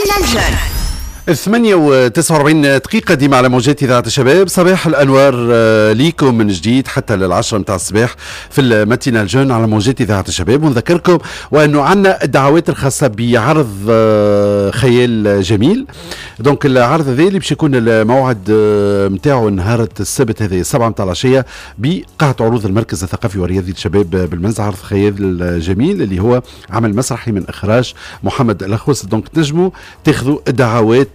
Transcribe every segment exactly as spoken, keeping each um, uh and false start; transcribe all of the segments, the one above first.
matinale jeune. ثمانية وتسعة وأربعين دقيقة ديما على موجات إذاعة الشباب. صباح الأنوار ليكم من جديد حتى للعشرة متاع الصباح في ال matinale jeune على موجات إذاعة الشباب، ونذكركم وأنه عندنا الدعوات الخاصة بعرض خيال جميل. donc العرض هذا اللي باش يكون الموعد نتاعو نهار السبت هذا السبعة متاع العشية بقاعة عروض المركز الثقافي والرياضي للشباب بالمنزه، عرض خيال جميل اللي هو عمل مسرحي من إخراج محمد الأخوس. donc تنجموا تاخذوا الدعوات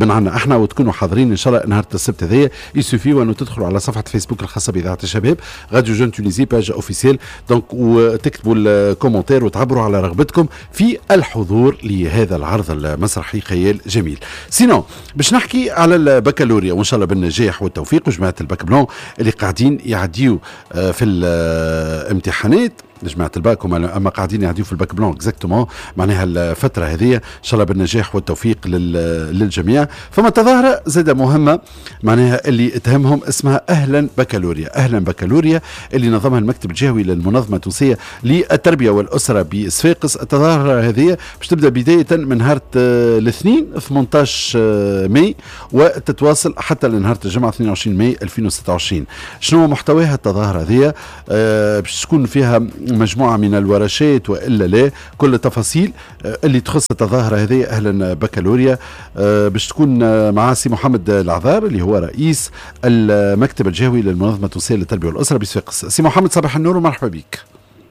من عنا احنا وتكونوا حاضرين ان شاء الله نهار السبت هذايا. il suffit وانه تدخلوا على صفحة فيسبوك الخاصة باذاعة الشباب radio jeune Tunisie page officielle، donc وتكتبوا ال commentaire وتعبروا على رغبتكم في الحضور لهذا العرض المسرحي خيال جميل. sinon باش نحكي على البكالوريا وان شاء الله بالنجاح والتوفيق وجماعه ال bac blanc اللي قاعدين يعديوا في الامتحانات، جماعة الباك اما قاعدين يعديوا في ال bac blanc exactement معناها الفترة هذه، ان شاء الله بالنجاح والتوفيق للجميع. فما تظاهرة زادة مهمة معناها اللي تهمهم اسمها اهلا بكالوريا، اهلا بكالوريا اللي نظمها المكتب الجهوي للمنظمة التونسية للتربية والاسرة بصفاقس. التظاهرة هذه باش تبدا بداية من نهار الاثنين ثمانية عشر ماي وتتواصل حتى لنهار الجمعة اثنين وعشرين ماي ألفين وستة وعشرين. شنو محتواها التظاهرة هذه؟ أه باش تكون فيها مجموعة من الورشات وإلا لا، كل التفاصيل اللي تخص التظاهرة هذه أهلا بكالوريا باش تكون مع سي محمد العذار اللي هو رئيس المكتب الجهوي للمنظمة التونسية للتربية والأسرة بصفاقس. سي محمد صباح النور ومرحبا بك.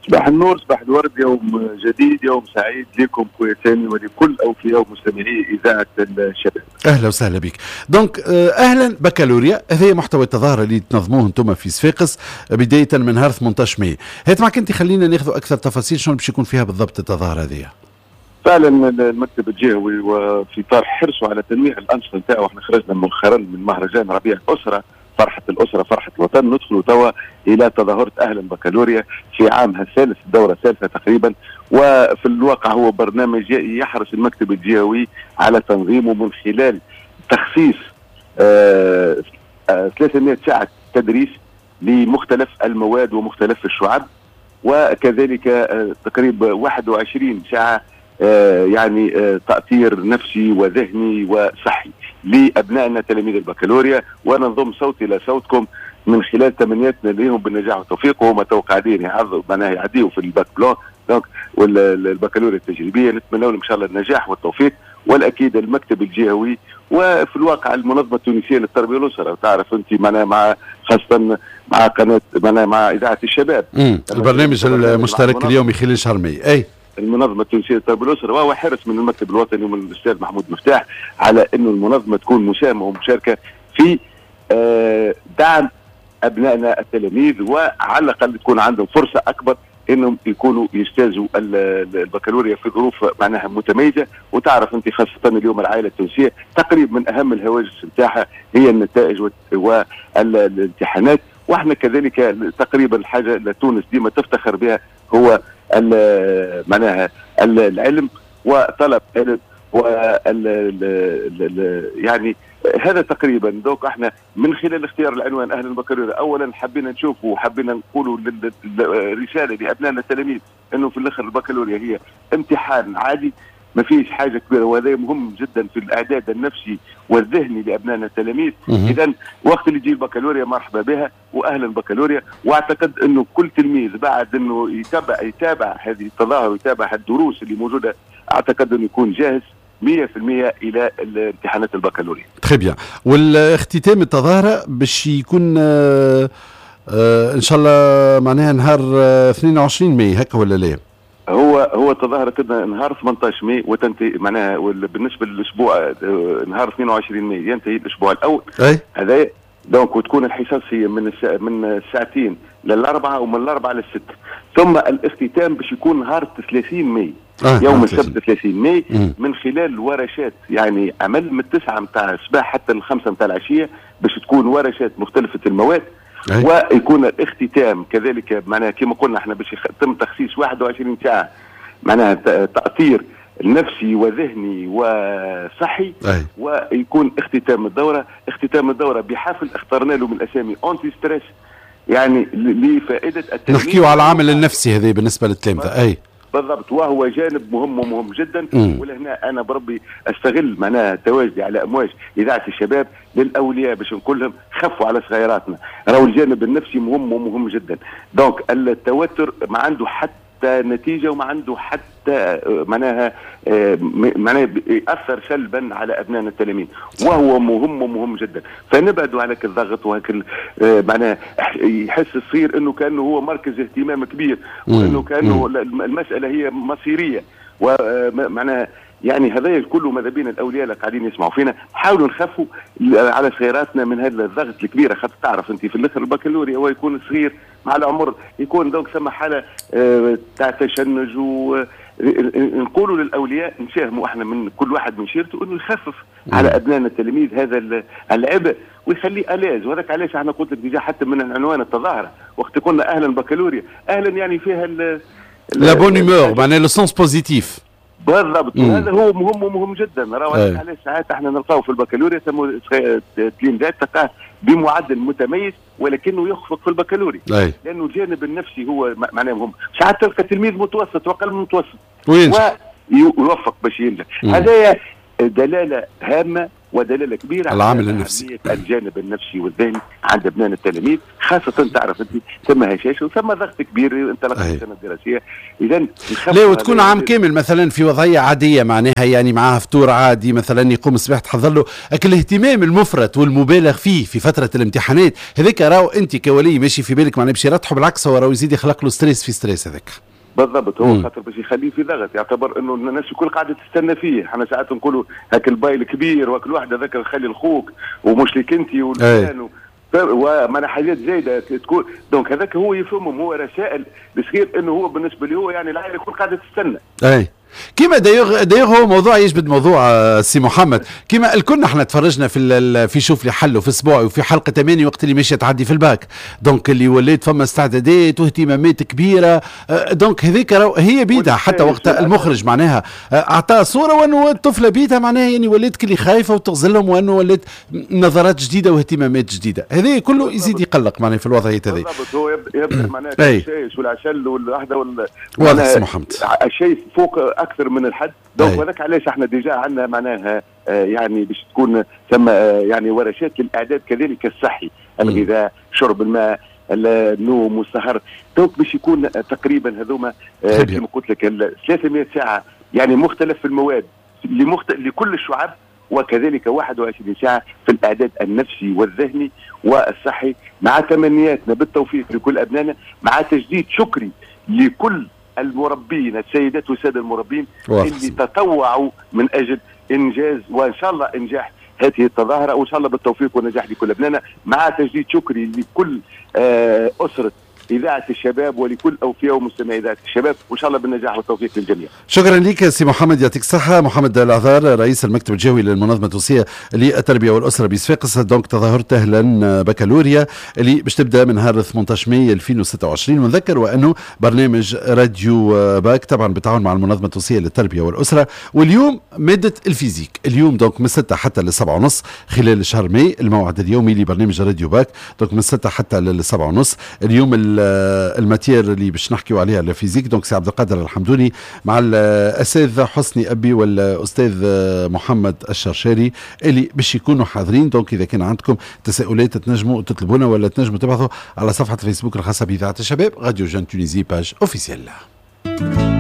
صباح النور، صباح الورد، يوم جديد، يوم سعيد لكم خويا سامي ولكل اوفياء ومستمعي اذاعة الشباب. اهلا وسهلا بك. donc اهلا بكالوريا هذا محتوى التظاهرة اللي تنظموه انتم في صفاقس بداية من نهار ثمانية عشر ماي. هات معك انت، خلينا ناخذ اكثر تفاصيل شنو باش يكون فيها بالضبط التظاهرة هذه. فعلا المكتب الجهوي وفي اطار حرصه على تنويع الانشطة نتاعو، احنا خرجنا مؤخرا من مهرجان ربيع الاسرة، فرحة الأسرة فرحة الوطن، ندخل توا إلى تظاهرة أهلا بكالوريا في عامها الثالث، الدورة الثالثة تقريبا. وفي الواقع هو برنامج يحرص المكتب الجهوي على تنظيمه من خلال تخصيص آه ثلاثمائة ساعة تدريس لمختلف المواد ومختلف الشعب، وكذلك آه تقريبا واحد وعشرين ساعة آه يعني آه تأثير نفسي وذهني وصحي لأبنائنا تلاميذ البكالوريا. وأنا نضم صوتي لصوتكم من خلال تمنياتنا لهم بالنجاح والتوفيق، وهم تو قاعدين يعظوا معناها يعديوا في ال bac blanc donc والبكالوريا التجريبية. نتمنى لهم ان شاء الله النجاح والتوفيق. والاكيد المكتب الجهوي وفي الواقع المنظمة التونسية للتربية والاسرة، تعرف انت معناها مع خاصة مع قناة معناها مع اذاعة الشباب، مم. البرنامج المشترك اليومي خلال شهر ماي. اي المنظمة التونسية للتربية والاسرة، وهو حرص من المكتب الوطني ومن الاستاذ محمود مفتاح على انه المنظمة تكون مساهمة ومشاركة في دعم ابنائنا التلاميذ، وعلى الاقل تكون عندهم فرصة اكبر انهم يكونوا يجتازوا البكالوريا في ظروف معناها متميزة. وتعرف انت خاصة اليوم العائلة التونسية تقريبا من اهم الهواجس نتاعها هي النتائج والامتحانات، واحنا كذلك تقريبا الحاجة اللي تونس ديما تفتخر بها هو معناها العلم وطلب علم وال يعني هذا تقريبا. donc احنا من خلال اختيار العنوان اهل البكالوريا اولا حبينا نشوفوا وحبينا نقولوا رسالة لابنائنا التلاميذ انه في الاخر البكالوريا هي امتحان عادي، ما فيش حاجة كبيرة، وهذا مهم جدا في الاعداد النفسي والذهني لابنائنا التلاميذ. اذا وقت اللي يجي البكالوريا مرحبا بها واهلا بكالوريا. واعتقد انه كل تلميذ بعد انه يتابع يتابع هذه التظاهر ويتابع الدروس اللي موجودة، اعتقد انه يكون جاهز مية في المية الى امتحانات البكالوريا. très bien. والاختتام التظاهرة باش يكون آه آه ان شاء الله معناها نهار اثنين وعشرين ماي هكا ولا لا؟ هو هو التظاهرة تبدا نهار ثمانية عشر ماي وتنتهي معناها بالنسبة للاسبوع نهار اثنين وعشرين ماي ينتهي الاسبوع الاول. اي هذا donc، وتكون الحصص هي من السا... من الساعتين للاربعه ومن الاربعة للست، ثم الاختتام باش يكون نهار ثلاثين ماي آه يوم السبت ثلاثين ماي مم. من خلال ورشات يعني عمل من التسعة نتاع الصباح حتى الخمسة نتاع العشية باش تكون ورشات مختلفة المواد. أي. ويكون الاختتام كذلك معناها كما قلنا احنا باش يتم تخصيص واحد وعشرين ساعة معناها تأثير نفسي وذهني وصحي. أي. ويكون اختتام الدورة، اختتام الدورة بحفل اخترنا له من الاسامي anti-stress، يعني لفائدة التلميذ. نحكيو على العامل النفسي هذا بالنسبة للتلامذه. اي بالضبط، وهو جانب مهم ومهم جدا. ولهنا انا بربي استغل معناها تواجدي على امواج اذاعة الشباب للاولياء باش نقول لهم خفوا على صغيراتنا، راهو الجانب النفسي مهم ومهم جدا. donc التوتر ما عنده حتى نتيجة وما عنده حتى معناها معناها ياثر سلبا على ابنائنا التلاميذ، وهو مهم ومهم جدا. فنبعدوا على الضغط وهك معناها يحس الصغير انه كانه هو مركز اهتمام كبير، وانه كانه المسالة هي مصيرية، ومعناها يعني هذا كله ماذا بين الاولياء اللي قاعدين يسمعوا فينا حاولوا نخفوا على صغيراتنا من هذا الضغط الكبير. خاطر تعرف انت في الاخر البكالوريا هو يكون صغير مع العمر، يكون donc ثم حاله تاع تشنج. و نقولوا للاولياء نساهموا احنا من كل واحد من شيرته انه يخفف على ابنائنا التلاميذ هذا العبء ويخليه à l'aise. وهذاك علاش احنا قلت لك déjà حتى من عنوان التظاهرة وقت قلنا اهلا بكالوريا، اهلا يعني فيها la bonne humeur، معناها le sens positif. بالضبط، وهذا هو مهم ومهم جدا. راهو علاش ساعات احنا نلقاو في البكالوريا تلميذات تلقاه بمعدل متميز ولكنه يخفق في البكالوريا، لانه الجانب النفسي هو معناه مهم. ساعات تلقى تلميذ متوسط واقل من متوسط ويوفق باش ينجح. هذايا دلالة هامة ودلالة كبيرة على العامل النفسي، الجانب النفسي والذهني عند ابنائنا التلاميذ، خاصة تعرف انت ثم هشاشة وثم ضغط كبير انطلاق السنة الدراسية. اذا لا، وتكون عام كامل مثلا في وضعية عادية، معناها يعني معاه فطور عادي مثلا، يقوم الصباح تحضر له، لكن الاهتمام المفرط والمبالغ فيه في فترة الامتحانات هذاك راهو انت كولي ماشي في بالك معناها باش يرتحوا، بالعكس هو راهو يزيد يخلق له stress في stress هذاك. بالضبط، هو خاطر باش يخليه في ضغط، يعتبر انه الناس الكل قاعدة تستنى فيه. احنا ساعات نقولوا هاك الباي الكبير وهاك الواحد هذاك خلي لخوك ومش لك انت والفلان ومعناها حاجات زايدة تكون. donc هذاك هو يفهمهم، هو رسائل بصغير انه هو بالنسبة له هو يعني العائلة الكل قاعدة تستنى. اي كيما d'ailleurs d'ailleurs هو موضوع يجبد موضوع سي محمد، كيما الكل احنا تفرجنا في في شوف لي حل وفي اسبوعي وفي حلقة ثمانية وقت اللي ماشية تعدي في ال bac، donc اللي ولات فما استعدادات واهتمامات كبيرة، donc هذيك هي بيدها حتى وقت المخرج معناها اعطى صوره وانه الطفلة بيدها معناها يعني ولات كلي خايفة وتغزلهم وانه ولات نظرات جديدة واهتمامات جديدة، هذا كله يزيد يقلق معناها في الوضعية هذه. بالضبط، هو يبدا معناها الشايش والعسل والوحدة وال واضح سي محمد، الشيء فوق اكثر من الحد. donc هذاك علاش احنا déjà عندنا معناها آه يعني باش تكون ثم آه يعني ورشات للاعداد كذلك الصحي، الغذاء، شرب الماء، النوم والسهر. donc باش يكون تقريبا هذوما آه كما قلت لك ثلاثمائة ساعة يعني مختلف في المواد لمخت... لكل الشعب، وكذلك واحد وعشرين ساعة في الاعداد النفسي والذهني والصحي، مع تمنياتنا بالتوفيق لكل ابنائنا، مع تجديد شكري لكل المربين، السيدات والسادة المربين اللي تطوعوا من اجل انجاز وان شاء الله انجاح هذه التظاهرة، وان شاء الله بالتوفيق والنجاح لكل ابنائنا، مع تجديد شكري لكل اسره إذاعة الشباب ولكل أوفياء ومستمعي إذاعة الشباب، وإن شاء الله بالنجاح والتوفيق للجميع. شكرا لك سي محمد، يعطيك الصحة. محمد العذار رئيس المكتب الجهوي للمنظمة التونسية للتربية والأسرة بصفاقس. donc تظاهرة أهلا بكالوريا اللي باش تبدا من نهار ثمانية عشر ماي ألفين وستة وعشرين، ونذكر وأنه برنامج راديو باك طبعا بالتعاون مع المنظمة التونسية للتربية والأسرة. واليوم مادة ال physique، اليوم donc من ستة حتى للسبعة ونص خلال شهر ماي الموعد اليومي لبرنامج راديو باك، donc من ستة حتى للسبعة ونص. اليوم ال matière اللي باش نحكيو عليها ال physique، donc سي عبد القادر الحمدوني مع الاساتذة حسني ابي والاستاذ محمد الشرشاري اللي باش يكونوا حاضرين. donc اذا كان عندكم تساؤلات تنجموا تطلبونا ولا تنجموا تبعثوا على صفحة الفيسبوك الخاصة باذاعة الشباب Radio Jeune Tunisie page officielle.